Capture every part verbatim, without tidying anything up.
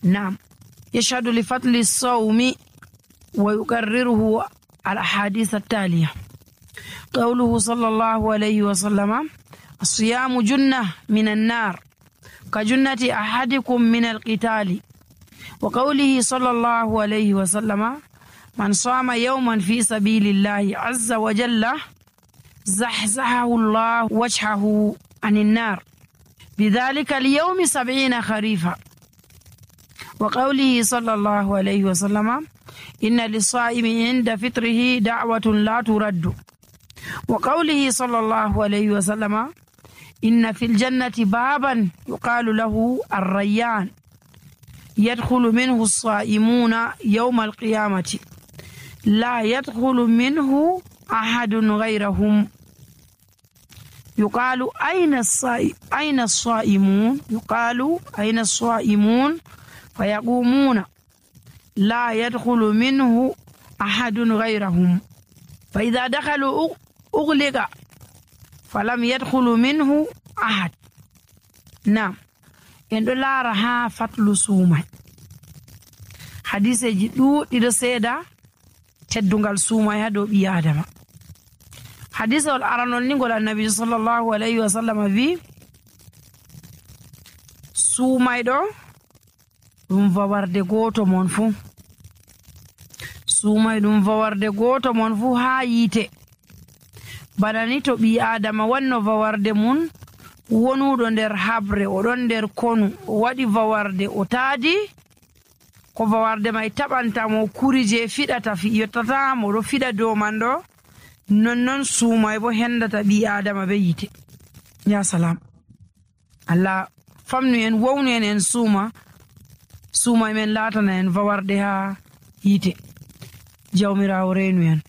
نعم يشهد لفضل الصوم ويقرره الأحاديث التالية. قوله صلى الله عليه وسلم: الصيام جنة من النار كجنة أحدكم من القتال. وقوله صلى الله عليه وسلم: من صام يوما في سبيل الله عز وجل زحزحه الله وجهه عن النار بذلك اليوم سبعين خريفا. وقوله صلى الله عليه وسلم: إن للصائم عند فطره دعوة لا ترد. وقوله صلى الله عليه وسلم: إن في الجنة بابا يقال له الريان يدخل منه الصائمون يوم القيامة لا يدخل منه أحد غيرهم. يقال أين الصائم أين الصائمون يقال أين الصائمون فيقومون لا يدخل منه أحد غيرهم، فإذا دخلوا أغلق فلم يدخل منه أحد. نعم إن لا رها فتل سوما حديث جدو إرسيدا تدنغال سوما يدو بيادما. حديث الأرانول نقول النبي صلى الله عليه وسلم في سوما يدو ɗum fawarde goto mon fuu suumay ɗum fawarde goto mon fuu haa yiite. bana ni to ɓi adama wanno fawarde mum wonuɗo nder habre oɗon nder konu o waɗi fawarde o taadi ko fawarde may taɓantamo kuri je fiɗata fi yottatamo ɗo fiɗa dow man ɗo, nonnon suumay bo hendata ɓi adama be yiite. ya salam, Allah famnu en wownu en en suuma suumay men laatana en fawarde ha yiite. jawmirawo reenu en.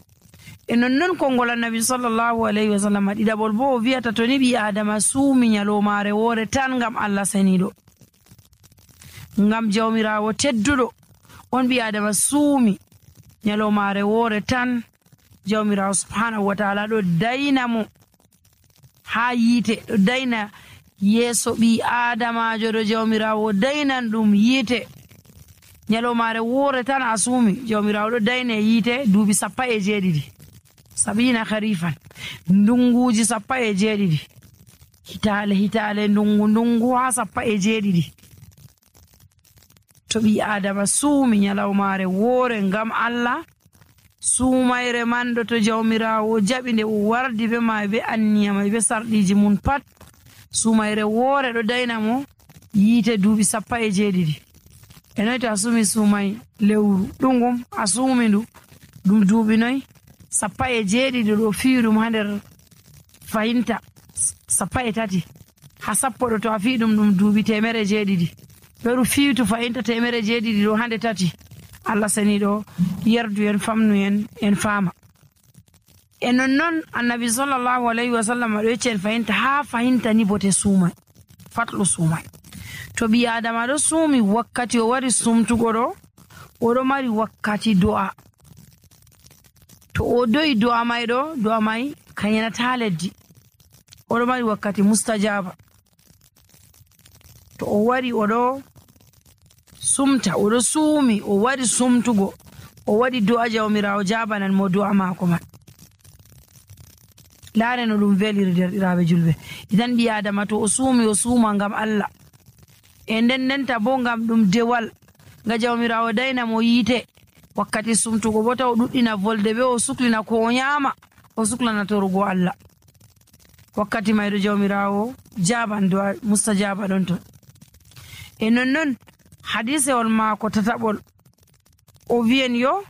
e nonnon konngol annabi sallallahu alayhi wa sallam ɗiɗaɓol bo o wiyata to ni ɓi adama suumi nyalomare woore tan ngam Allah saniɗo, ngam jawmirawo tedduɗo on ɓi adama suumi nyalomare woore tan, jawmirawo subhanahu wa ta'ala ɗo dayna mo ha yiite, ɗo dayna yeeso ɓi adamajo ɗo jawmirawo daynan ɗum yiite. nyalomare woore tan a suumi, jawmirawo ɗo dayne yiite duuɓi sappa e jeeɗiɗi, sabina harifan, ndunguji sappa e jeeɗiɗi, hitale hitale ndungu ndungu ha sappa e jeeɗiɗi. to ɓi adama suumi nyalomare woore ngam Allah, suumayre man ɗo to jawmirawo jaɓi nde o wardi be ma be anniyama be sarɗiji mun pat, suumayre woore ɗo dayna mo yiite duuɓi sappa e jeeɗiɗi. e noy to a suumi suumay lewru ɗungum a suumi ndu ɗum duuɓi noy sappa e jeeɗiɗi ɗo fiyi ɗum ha nder fayinta sappa e tati ha sappo ɗo to a fiyi ɗum ɗum duuɓi temere jeeɗiɗi, ɓeru fiitu fayinta temere jeeɗiɗi ɗo hande tati. Allah saniɗo yerdu en famnu en en faama. e nonnon annabi sallallahu alayhi wa sallam ɗo yecci en fayinta ha fayinta ni bote suumay, fatlu suumay. to ɓi adama ɗo suumi wakkati o wari sumtugo ɗo, oɗo mari wakkati do'a. to o do'i do'a may ɗo, do'a may kayanata leddi, oɗo mari wakkati mustajaba. to o wari oɗo sumta, oɗo suumi, o wari sumtugo, o waɗi do'a, jawmirawo jabanan mo do'a mako man. laare no ɗum veliri derɗiraɓe julɓe. idan ɓi adama to o suumi o suuma ngam Allah, e nden ndenta bo ngam ɗum dewal nga jawmirawo dayna mo yiite wakkati sumtugo bo taw ɗuɗɗina volde be o suklina ko o nyama, o suklana torugo Allah. wakkati mayɗo jawmirawo jaban do'a mustajaba ɗon ton. e nonnon hadisewol maako tataɓol o wiyen yo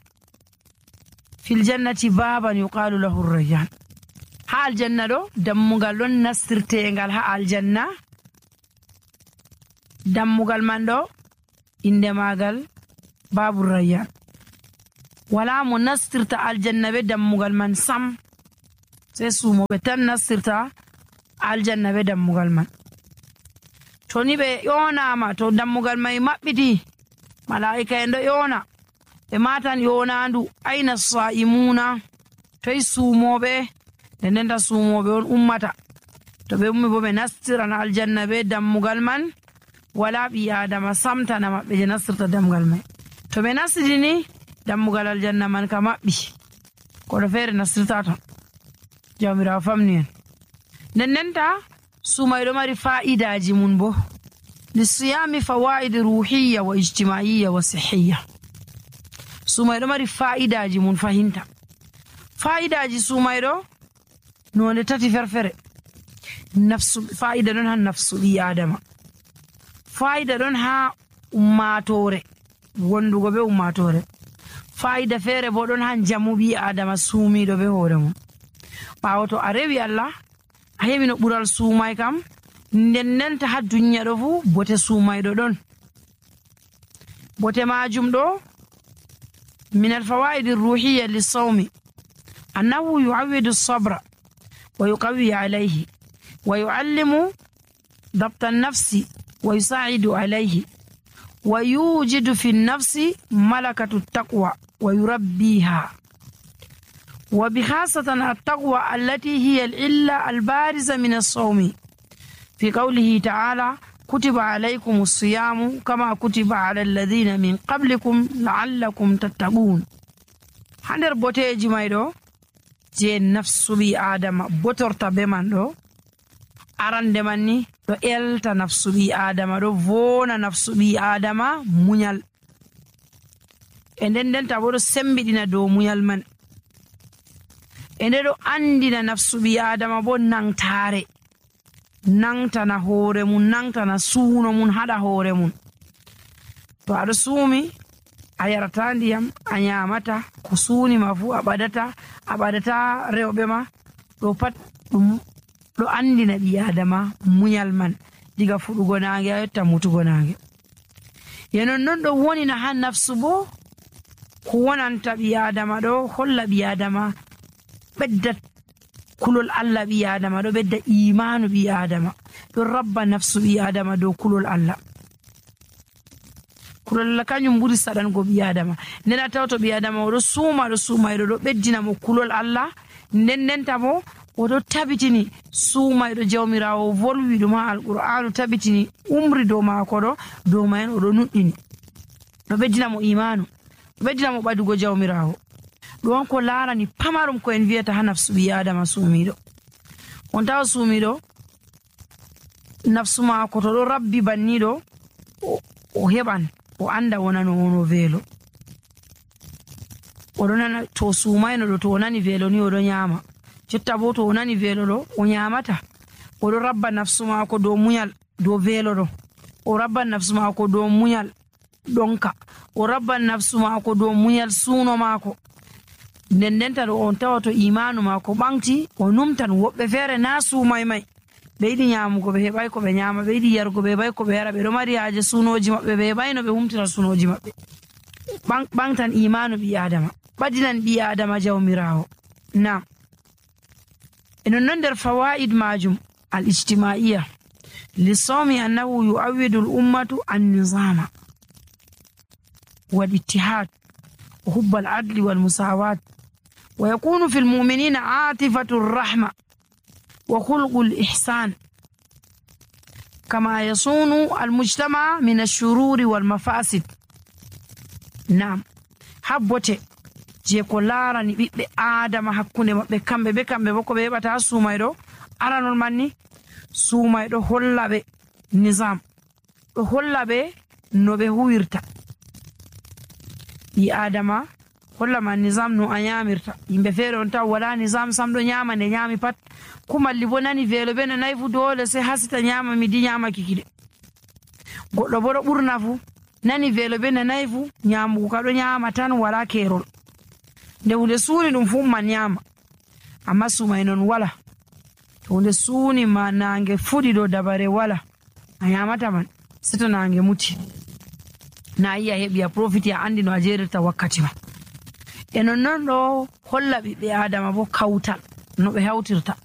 fil jannati baban yuqalu lahu rayyan. ha aljanna ɗo dammugal ɗon nastirtengal ha aljanna, dammugal man ɗo inde magal babu rayyan. wala mo nastirta aljanna be dammugal man sam, sai sumoɓe tan nastirta aljanna be dammugal man. to ni ɓe yonama, to dammugal mai maɓɓiti, malaika en ɗo yona ɓe matan yonandu aina sa'imuna, toy sumoɓe, nde ndenta sumoɓe on ummata. to ɓe ummi bo ɓe nastiran aljanna be dammugal man, wala ɓi adama samtana maɓɓe je nastirta damgal mai. To ɓe nastidi ni dammugal aljanna man ka maɓɓi, koɗo feere nastirta ton. Jawmirawo famni en. nden ndenta sumay ɗo mari fa'idaji mun bo. lisiyami fawaid ruhiyya wa ijtimaiyya wa sihiyya. sumay ɗo mari fa'idaji mun fahinta. fa'idaji sumay ɗo nonde tati ferfere. nafsu fa'ida ɗon ha nafsu ɓi adama, fa'ida ɗon ha ummatore wondugo be ummatore, fa'ida feere bo ɗon ha jamu ɓi adama suumiɗo be hoore mum. ɓawo to a rewi Allah a heɓi no ɓural suumay kam, nden ndenta ha duniya ɗo fu bote suumayɗo ɗon. bote majum ɗo min alfawaid ruhiyya lissawmi annahu yu'awwidu sabra wa yuqawwi alayhi wa yu'allimu ضبط النفس ويساعد عليه ويوجد في النفس ملكة التقوى ويربيها، وبخاصة التقوى التي هي العلة البارزة من الصوم، في قوله تعالى كتب عليكم الصيام كما كتب على الذين من قبلكم لعلكم تتقون. هندر بوتيجي مايدو je nafsu ɓi adama botorta be man ɗo arande man ni ɗo elta nafsu ɓi adama, ɗo vona nafsu ɓi adama muñal, e nden ndenta bo ɗo sembiɗina dow muñal man, e nde ɗo andina nafsu ɓi adama bo nangtare, nangtana hoore mun, nangtana suuno mun, haɗa hoore mun. to aɗo suumi a yarata ndiyam, a nyamata ko suunima fu, a ɓadata a ɓadata rewɓe ma, ɗo pat ɗum ɗo andina ɓi adama muñal man diga fuɗugo nange a yotta mutugo nange. ye nonnon ɗo wonina ha nafsu bo ko wonanta ɓi adama ɗo holla ɓi adama ɓedda kulol Allah, ɓi adama ɗo ɓedda imanu ɓi adama, ɗo rabba nafsu ɓi adama dow kulol Allah. kulol Allah kañum ɓuri saɗango ɓi adama. nden a taw to ɓi adama oɗo suuma ɗo suumayɗo ɗo ɓeddina mo kulol Allah, nden ndenta bo oɗo tabitini suumayɗo jawmirawo volwi ɗum ha alqur'anu, tabitini umri dow maako ɗo dow mayen oɗo nuɗɗini, ɗo ɓeddina mo imanu, ɗo ɓeddina mo ɓadugo jawmirawo. ɗum ko larani pamarum ko en wiyata ha nafsu ɓi adama suumiɗo. on tawa suumiɗo nafsu maako to ɗo rabbi banniɗo o heɓan o anda wonano wono veelo, oɗo nana to suumayno ɗo to o nani veelo ni oɗo nyama, jotta bo to o nani veelo ɗo o nyamata. oɗo rabba nafsu maako dow muñal dow veelo ɗo, o rabban nafsu maako dow muñal ɗonka, o rabban nafsu maako dow muñal suuno maako. nden ndenta ɗo on tawa to imanu maako ɓanti o numtan. woɓɓe feere na suumay may ɓe yiɗi nyamugo ɓe heɓay ko ɓe nyama, ɓe yiɗi yarugo ɓe heɓay ko ɓe yara, ɓe ɗo mari haaje suunoji maɓɓe ɓe heɓay no ɓe humtira suunoji maɓɓe. ɓantan imanu ɓi adama, ɓadinan ɓi adama jawmirawo. nam e nonnon nder fawaid majum al ijtimaiya lissawmi annahu yu'awwidu l ummatu annizama wal ittihad wa hubba al adli wal musawat wa yakunu fi lmuminina atifatu rrahma wa khulqu l ihsan kama yasunu almujtama min alshururi wal mafasid. nam habbote je ko larani ɓiɓɓe adama hakkunde maɓɓe kamɓe be kamɓe bo ko ɓe heɓata suumayɗo aranol manni suumayɗo holla ɓe nisam, ɗo holla ɓe no ɓe huwirta. ɓi adama hollama nisam no a nyamirta. yimɓe feere on taw wala nisam sam ɗo nyama nde nyami pat, kumalli bo nani veelo ɓe no nayi fu dole se hasita nyama midi nyamaki kiɗe. goɗɗo bo ɗo ɓurna fu nani veelo ɓe no nayi fu nyamugo ka ɗo nyama tan wala kerol, nde hunde suuni ɗum fu man nyama. amma sumay non wala, to hunde suuni ma nange fuɗi ɗo dabare wala a nyamata man seto nange muti, na yi a heɓi a profiti a andi no a jerirta wakkati ma. e nonnon ɗo holla ɓiɓɓe adama bo kawtal no ɓe hawtirta.